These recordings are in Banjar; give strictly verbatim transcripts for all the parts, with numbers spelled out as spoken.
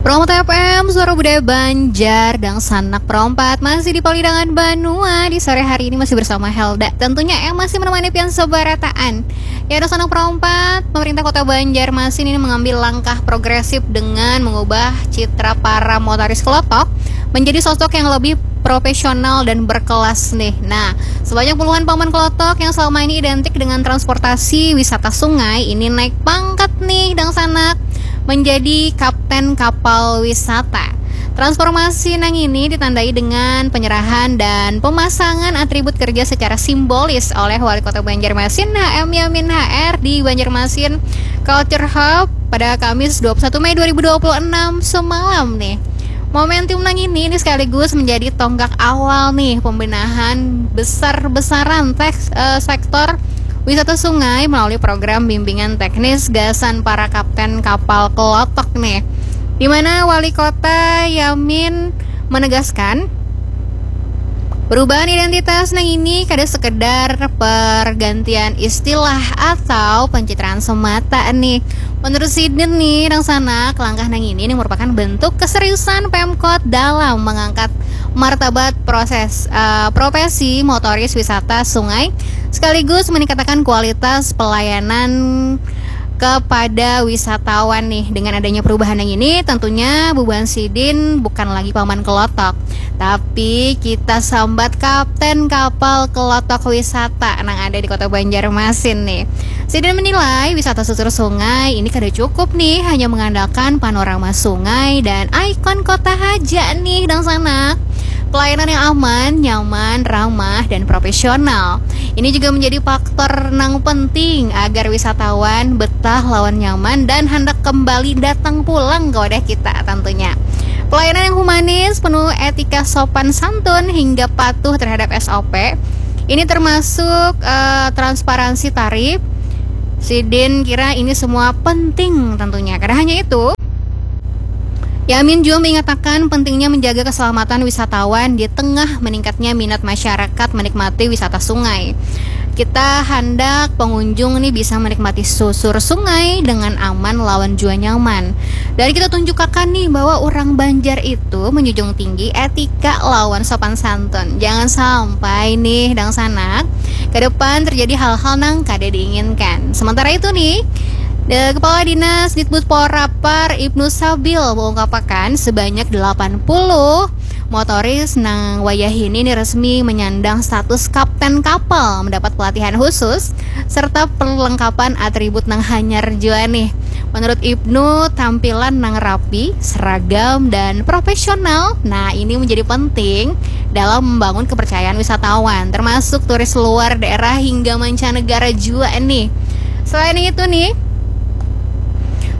Romo T F M, suara budaya Banjar, dangsanak perompat masih di Palidangan Banua. Di sore hari ini masih bersama Helda. Tentunya yang masih menemani pian sebarataan. Ya, dangsanak perompat, pemerintah Kota Banjarmasin ini mengambil langkah progresif dengan mengubah citra para motoris kelotok menjadi sosok yang lebih profesional dan berkelas nih. Nah, sebanyak puluhan paman kelotok yang selama ini identik dengan transportasi wisata sungai ini naik pangkat nih, dangsanak, menjadi kapten kapal wisata. Transformasi nang ini ditandai dengan penyerahan dan pemasangan atribut kerja secara simbolis oleh Wali Kota Banjarmasin H M Yamin H R di Banjarmasin Culture Hub pada Kamis dua puluh satu Mei dua ribu dua puluh enam semalam nih. Momentum nang ini, ini sekaligus menjadi tonggak awal nih pembenahan besar-besaran teks, eh, sektor wisata sungai melalui program bimbingan teknis gasan para kapten kapal kelotok nih. Di mana Wali Kota Yamin menegaskan, perubahan identitas nang ini kada sekedar pergantian istilah atau pencitraan semata nih. Menurut sidin nih, dangsanak, langkah nang ini nih merupakan bentuk keseriusan Pemkot dalam mengangkat martabat proses, eh, profesi motoris wisata sungai, sekaligus meningkatkan kualitas pelayanan kepada wisatawan nih. Dengan adanya perubahan yang ini, tentunya bubuhan sidin bukan lagi paman kelotok, tapi kita sambat kapten kapal kelotok wisata nang ada di Kota Banjarmasin nih. Sidin menilai wisata susur sungai ini kada cukup nih hanya mengandalkan panorama sungai dan ikon kota haja nih, dangsanak. Pelayanan yang aman, nyaman, ramah, dan profesional ini juga menjadi faktor nang penting agar wisatawan betah lawan nyaman dan handak kembali datang pulang ke wadah kita tentunya. Pelayanan yang humanis, penuh etika sopan santun, hingga patuh terhadap S O P. Ini termasuk, eh, transparansi tarif. Sidin kira ini semua penting tentunya. Kada hanya itu, Yamin juga mengatakan pentingnya menjaga keselamatan wisatawan di tengah meningkatnya minat masyarakat menikmati wisata sungai. Kita handak pengunjung nih bisa menikmati susur sungai dengan aman lawan jua nyaman. Dan kita tunjukakan nih bahwa orang Banjar itu menjunjung tinggi etika lawan sopan santun. Jangan sampai nih, dangsanak, ke depan terjadi hal-hal nang kada diinginkan. Sementara itu nih, de-, Kepala Dinas Ditbudpor Rapar Ibnu Sabil mengungkapkan sebanyak delapan puluh motoris nang wayahini ni resmi menyandang status kapten kapal, mendapat pelatihan khusus serta perlengkapan atribut nang hanyar jua nih. Menurut Ibnu, tampilan nang rapi, seragam, dan profesional, nah, ini menjadi penting dalam membangun kepercayaan wisatawan, termasuk turis luar daerah hingga mancanegara jua nih. Selain itu nih,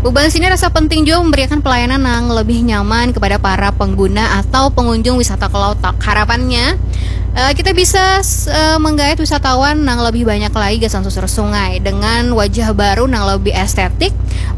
bubuhan sidin rasa penting juga memberikan pelayanan yang lebih nyaman kepada para pengguna atau pengunjung wisata kelotok. Harapannya, eh, kita bisa, eh, menggait wisatawan yang lebih banyak lagi gasan susur sungai dengan wajah baru yang lebih estetik,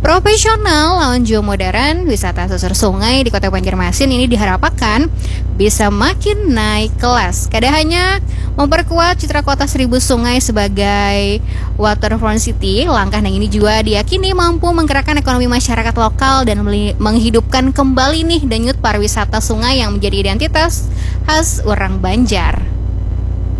profesional, lawan juga modern. Wisata susur sungai di Kota Banjarmasin ini diharapkan bisa makin naik kelas. Kada hanya memperkuat citra kota seribu sungai sebagai waterfront city, langkah nang ini juga diyakini mampu menggerakkan ekonomi masyarakat lokal dan meli-, menghidupkan kembali nih denyut pariwisata sungai yang menjadi identitas khas orang Banjar.